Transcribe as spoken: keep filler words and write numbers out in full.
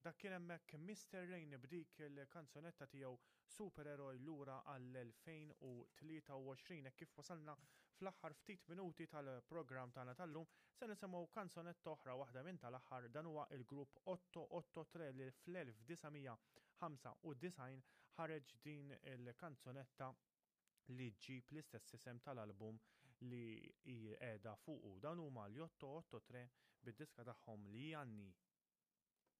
Dak kien hemmhekk Mister Rain b'dik il-kanzunetta tiegħu Supereroj lura għall-elfejn u tlieta u għoxrin. Hekk kif wasalna fl-aħħar ftit minuti tal-programm tagħna tal-lum, se nisimgħu kanzunetta oħra, waħda minn tal-aħħar. Dan huwa il-grupp otto otto tre li fl-elf disa' mija ħamsa u disgħin ħareġ din il-kanzunetta li ġġib l-istess isem tal-album li hi qiegħda fuqu. Dan huma l-otto otto tre bid-diska tagħhom li Janni.